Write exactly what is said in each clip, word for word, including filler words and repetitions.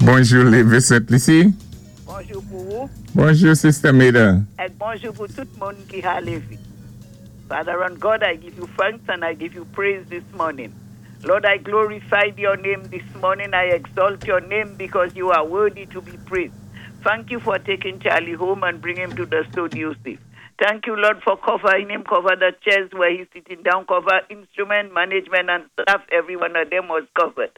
Bonjou, Lévé Sent-Lisi. Bonjou pou ou. Bonjou, Sister Maida. Èk bonjou pou tout moun ki ka lévé. Father and God, I give you thanks and I give you praise this morning. Lord, I glorify your name this morning. I exalt your name because you are worthy to be praised. Thank you for taking Charlie home and bring him to the studio safe. Thank you, Lord, for covering him, cover the chairs where he's sitting down, cover instrument, management, and staff. Every one of them was covered.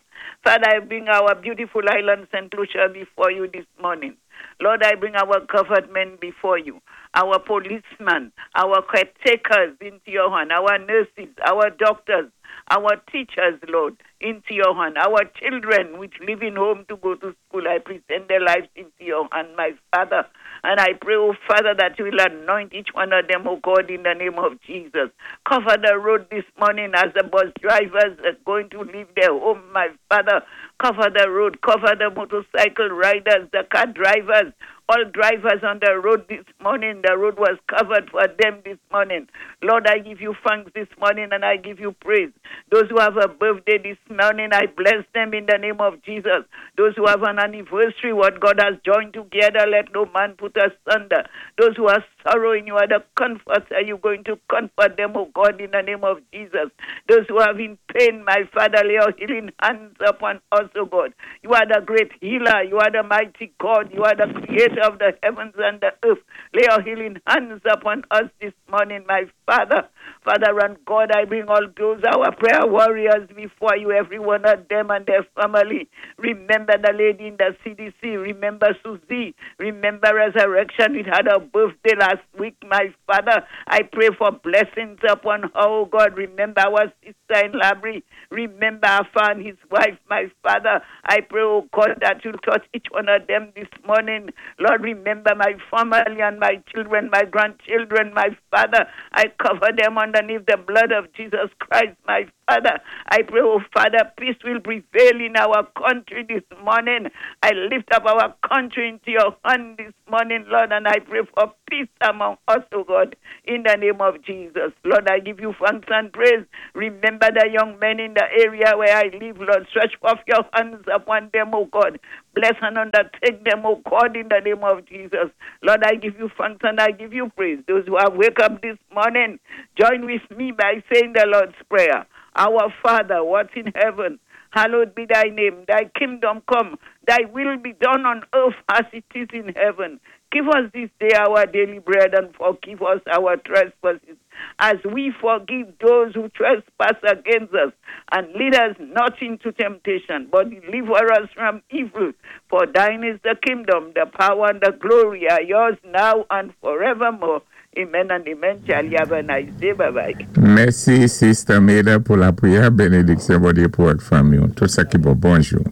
Father, I bring our beautiful island, Saint Lucia, before you this morning. Lord, I bring our government before you, our policemen, our caretakers into your hand, our nurses, our doctors, our teachers, Lord, into your hand, our children which live in home to go to school. I present their lives into your hand, my Father. And I pray, oh Father, that you will anoint each one of them, oh God, in the name of Jesus. Cover the road this morning as the bus drivers are going to leave their home, my Father. Cover the road, cover the motorcycle riders, the car drivers, all drivers on the road this morning. The road was covered for them this morning. Lord, I give you thanks this morning and I give you praise. Those who have a birthday this morning, I bless them in the name of Jesus. Those who have an anniversary, what God has joined together, let no man put asunder. Those who are sorrowing, you are the comforter. You're going to comfort them, oh God, in the name of Jesus. Those who are in pain, my Father, lay your healing hands upon us, oh God. You are the great healer. You are the mighty God. You are the creator of the heavens and the earth. Lay your healing hands upon us this morning, my Father. Father and God, I bring all those our prayer warriors before you, every one of them and their family. Remember the lady in the C D C. Remember Susie. Remember Resurrection. We had a birthday last week, my Father. I pray for blessings upon her, oh God. Remember our sister in Labrie. Remember Afa and his wife, my Father. I pray, oh God, that you'll touch each one of them this morning. Lord, remember my family and my children, my grandchildren, my Father. I cover them underneath the blood of Jesus Christ, my Father. I pray, oh Father, peace will prevail in our country this morning. I lift up our country into your hand this morning, Lord, and I pray for peace among us, oh God, in the name of Jesus. Lord, I give you thanks and praise. Remember the young men in the area where I live, Lord. Stretch forth your hands upon them, oh God. Bless and undertake them, oh God, in the name of Jesus. Lord, I give you thanks and I give you praise. Those who have wake up this morning, join with me by saying the Lord's Prayer. Our Father, what's in heaven, hallowed be thy name. Thy kingdom come, thy will be done on earth as it is in heaven. Give us this day our daily bread and forgive us our trespasses as we forgive those who trespass against us. And lead us not into temptation, but deliver us from evil. For thine is the kingdom, the power, and the glory are yours now and forevermore. Amen and amen. Charlie, have a nice day. Bye bye. Mèsi, Sister Maida, pou lapwiyè. Bénédiksyon, Bondyé pou vòt fanmi. Tout sa ki bon. Bonjou.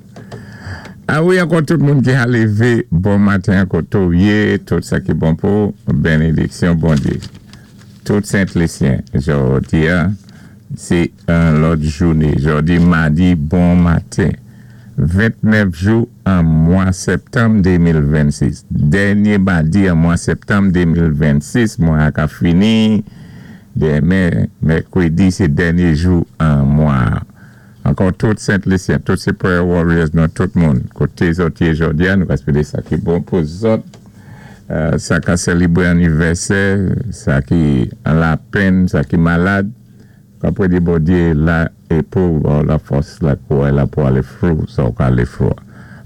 A wi, ankò tout moun ki a lévé, bon maten ankò tou, tout sa ki bon pou bénédiksyon Bondyé. Tout Sent-Lisyen, jòdi a, sé yon lòt jouné. Jòdi madi, bon maten. ventnèf jou an mwa septanm de mil vennsis. Dènyé madi an mwa septanm de mil vennsis, mwa a ka fini. Denmen, mèkwédi, sé dènyé jou an mwa. Ankò tout Sent-Lisyen, tout sé prayer warriors, nou tout moun. Koté zòt yé jòdi a, nou ka swété sa ki bon pou zòt. Euh, sa ka sélébwé anivèsè, sa ki an lapenn, sa ki malad. Ka pwédé Bondyé la é pou bon, la fòs la kouway la pou alé through, sa ou ka alé through.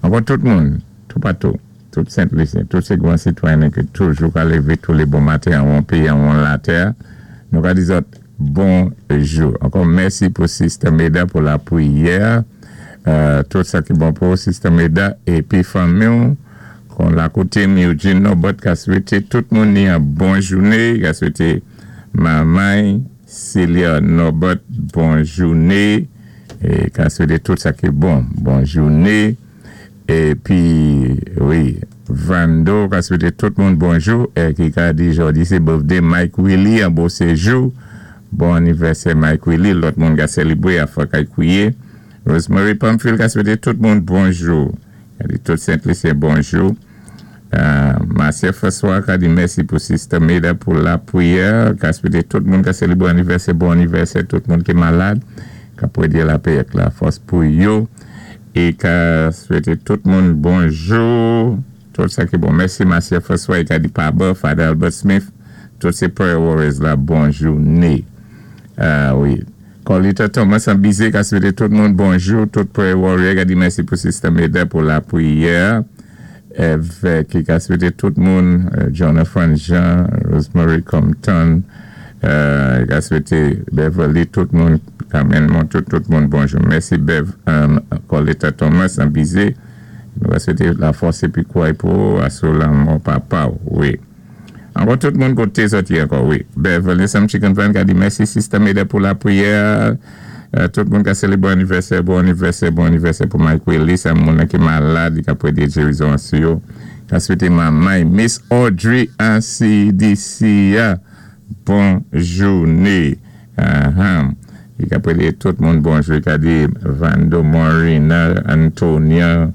Ankò tout moun, tout patou, tout Sent-Lisyen, tout sé gwan sitwayen ki toujou ka lévé tou lé bon maten an yon péyi, an yon latè, nou ka di zòt bonjou. Ankò mèsi pou Sister Meda pou lapwiyè, euh, tout sa ki bon pou Sister Meda, épi fanmi, kon la koté Eugene Norbert ka swété tout moun ni yon bon jouné, ka swété manman Celia Norbert bon jouné, é ka swété tout sa ki bon, bon jouné, épi, wi, Vando ka swété tout moun bonjou, é ki ka di jòdi sé birthday Mike Willie, an bon séjou, bon anivèsè Mike Willie, lòt moun ka sélébwé a fwa kay kwiye. Rosemary Pamphile ka swété tout moun bonjou. Ka di tout Sent-Lisyen bonjou. Euh, Marcia François ka di mèsi pou Sister Meda pou lapwiyè. Ka swété tout moun ka sélébwé anivèsè, bon anivèsè, tout moun ki malad. Ka pwédé lapè ak la fòs pou yo. I ka swété tout moun bonjou. Tout sa ki bon. Mèsi, Marcia François. I ka di Paba, Father Albert Smith. Tout sé prayer warriors la, bonjouné. Ah wi. Colita Thomas an Bizé ka swété tout moun bonjou. Tout prayer warrior ka di mèsi pou Sister Meda pou lapriyè. Èvèk ki ka swété tout moun, Jonathan Jean, Rosemary Compton, euh, ka swété Beverly, tout moun, Carmen Montou, tout moun bonjou. Mèsi Bev, um, Colita Thomas an Bizé. Nou ka swété lafòs épi kouway pou asou lanmò papa, wi. Ankò tout moun koté sòti ankò, wi. Beverly Sam Chicken Van ka di mèsi Sister Meda pou lapriyè. Euh, tout moun ka sélébwé anivèsè, bon anivèsè, bon anivèsè pou Mike Willis, an moun ki malad, ki ka pwédé gérizon sou yo. Ka swété manmay, Miss Audrey an C D C, bon jouné. Uh-huh. I ka pwédé tout moun bonjou, ka di Vando Morina, Antonia,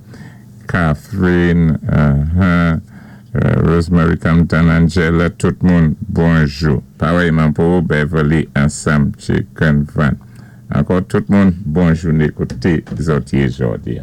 Catherine, uh-huh, uh, Rosemary Compton, Angela, tout moun bonjou. Pawèyman pou Beverly an Sam Chicken Van. Ankò tout moun, bon jouné koté zòt yé jòdi.